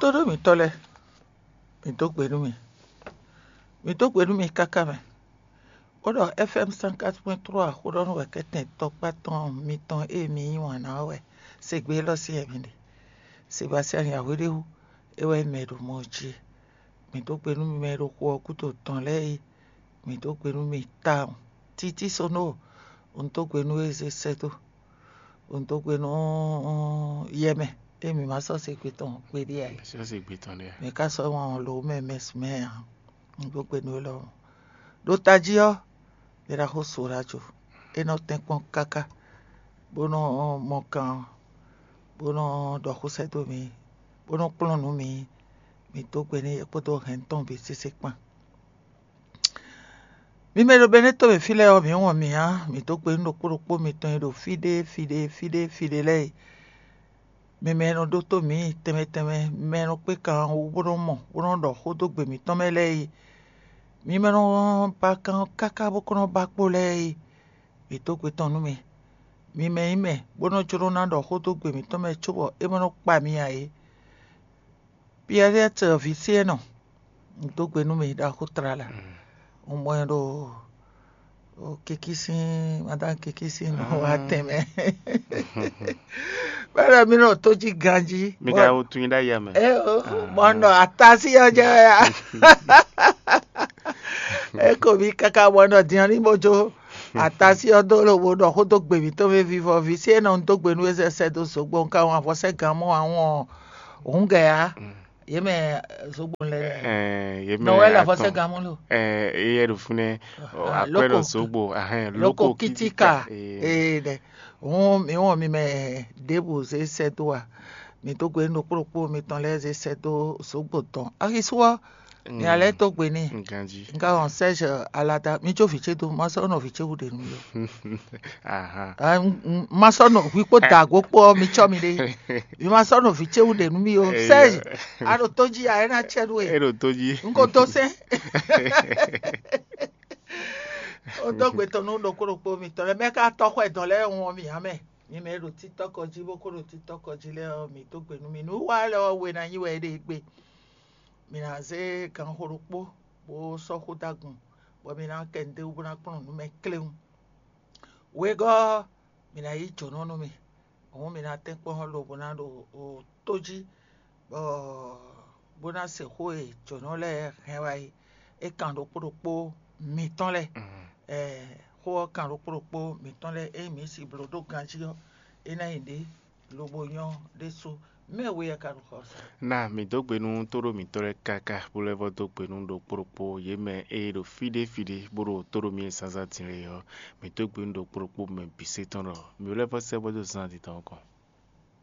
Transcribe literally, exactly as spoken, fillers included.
Tóɖó mǐtɔn lɛ́ɛ, mǐ dó gbe nú mi. Mǐ dó gbe nú mi káká mɛ. Bó ɖɔ F M cent quatre point trois xó ɖɔ nú wɛ kɛ́tɛn tɔkpá tɔn mitɔn e mi yí wǎn ná ɔ́ wɛ. Segbe élɔ́ sí wɛ mi ɖe. Sebastian Yahweh ɖé wú, é wɛ mɛ ɖo mɔ jí. Mǐ dó gbe nú mi mɛ e ɖo xo ɔ́ gúdo tɔn lɛ́ɛ é. Mǐ dó gbe nú mi tawun. Títí Sono, un dó gbe nú we zé sɛ́ dó. Un dó gbe nú yɛ mɛ, ée mǐ ma sɔ́ se gbe tɔn gbeɖé ǎ é. Sɔ́ se gbe tɔn ɖé ǎ. Mǐ ka sɔ́ wɔn lǒ mɛ mɛ sumɛ ǎ. Un dó gbe nú we lɔmɔ̌. Ɖo tají ɔ́, mǐ ɖaxó Sorajo, é nɔ tɛ́nkpɔ́n káká, bó nɔ mɔ kan ɔ́, bó nɔ ɖɔ xó sɛ́ dó mǐ, bó nɔ kplɔ́n nǔ mǐ. Mǐ dó gbe n'i é kpódó hɛn tɔn bǐ sésé kpán. Mi mɛ e ɖo Benɛ́to mɛ fí lɛ́ɛ ɔ́, mǐ wɔn mǐ ǎ. Mǐ dó gbe nú ɖokpó ɖokpó mitɔn e ɖo fí ɖé fí ɖé fí ɖé fí ɖé lɛ́ɛ e. Mi mɛ e nɔ ɖótó mǐ tɛnmɛ tɛnmɛ, mi mɛ e nɔ kpé kan ɔ́ wú bó nɔ́ mɔ, bó nɔ́ ɖɔ xó dó gbe mǐtɔn mɛ lɛ́ɛ e. Mi mɛ e nɔ ba kan ɔ́ káká bó kɔ́ nɔ́ ba kpó lɛ́ɛ e, mǐ dó gbe tɔn nú mi. Mi mɛ nyí mɛ bó nɔ́ jló ná ɖɔ xó dó gbe mǐtɔn mɛ cóbɔ é ma nɔ kpa mi ǎ é. Piyɛ́liɛ́tɔ ví Siɛ́nɔ, un dó gbe nú mi ɖaxó tlala. Un mɔ ɛ ɖo kiki sín, madan kiki sín nɔ wá tɛnmɛ. Bɛ́ ɖɔ mí nɔ tó jí ganjí. Mi ka wo tun nyi ɖ'ayǐ mɛ. Eo, mɔ nɔ atasi ɔ́ jɛ wɛ ya. Eko mi kaka mɔ nɔ dian ní mo jó atasi ɔ́ dó lobo ɖɔ xó dó gbe mǐtɔn mɛ vivɔ ví Siɛ́nɔ, un dó gbe nú we sɛ sɛ dó zogbo, un ka wɔn avɔ sɛ gan mɔ àwọn òun gɛ ya. Yě mɛ zogbo lɛ. Ɛɛ, yé mɛ Nɔwɛ́li atɔn. Afɔsɛ́gamɔ lo. Ɛɛ, eye ɖo fúnɛ. Ah, akwɛ́ ɖo loko. Zogbo ahɛn Loko loko kitika. Kitika. Ee. Ee ɖɛ. Hɔn mi wɔn mi mɛ ɖěbǔ zé sɛ́ dó a? Mi dó gbe nú ɖokpó ɖokpó mitɔn lɛ́ɛ zé sɛ́ dó zogbo tɔn. Axisú ɔ́, mi alɛ tó gbe n'i. Nganji. Nka wɔn Serge alada mi jó vǐ ce dó, ma sɔ́ nɔ vǐ ce wú ɖe nú mi ó. Ahan. Ah, n- n- ma sɔ́ nɔ hwi kpó dǎgó kpó ɔ́, mi cɔ́ mi ɖe. Mi ma sɔ́ nɔ vǐ ce wú ɖe nú mi ó. Eya. Serge, a ɖo tó jí a é ná cɛ nú E we. Ɖo tó jí. N ko dó sɛn. O dó gbe tɔn nú ɖokpó ɖokpó mitɔn lɛ́ɛ mɛ ká tɔ́ xɔ ɛdɔn lɛ́ɛ wɔn mi ǎ mɛ. Mi mɛ e ɖo títɔ́kɔ jí bó kó ɖo títɔ́kɔ jí lɛ́ɛ ɔ́, mi dó gbe nú mi. Nǔ wa lɛ́ɛ ɔ́ we ná nyí wɛ é ɖe gbe. Mi ná zé ganxo ɖokpó bó sɔ́ xó dó agun, bɔ mi ná kɛ nǔɖé wú bó ná kplɔ́n nǔ mɛ kléwún. Wegɔ́ ɔ́, mi ná yí jǒnɔ nú mì. Hǔn mi ná tɛ́nkpɔ́n lobo ná ɖo tó jí, bɔ bó ná se xó e jǒnɔ lɛ́ɛ hɛn wá é. É kan ɖokpó ɖokpó mǐtɔn lɛ́ɛ. Ɛɛ, xó ɔ́ kan ɖokpó ɖokpó mǐtɔn lɛ́ɛ. Ényí mǐ si bló ɖó ganjí ɔ́, é ná nyí ɖě lobo nyɔ́ ɖésú. Mɛ we wɛ ka ɖo xɔ sa? Na mǐ dó gbe nú tóɖó mǐtɔn lɛ́ɛ káká, bó lɛ́ vɔ́ dó gbe nú ɖokpó ɖokpó yě mɛ e ɖo fí ɖé fí ɖé bó ɖo tóɖó mǐ e zǎnzǎn din lɛ́ɛ ɔ́. Mǐ dó gbe nú ɖokpó ɖokpó mɛ bǐ sé tɔn ɖɔ mǐ lɛ́ vɔ́ sɛ́ bó dó zán din tɔn nukɔn.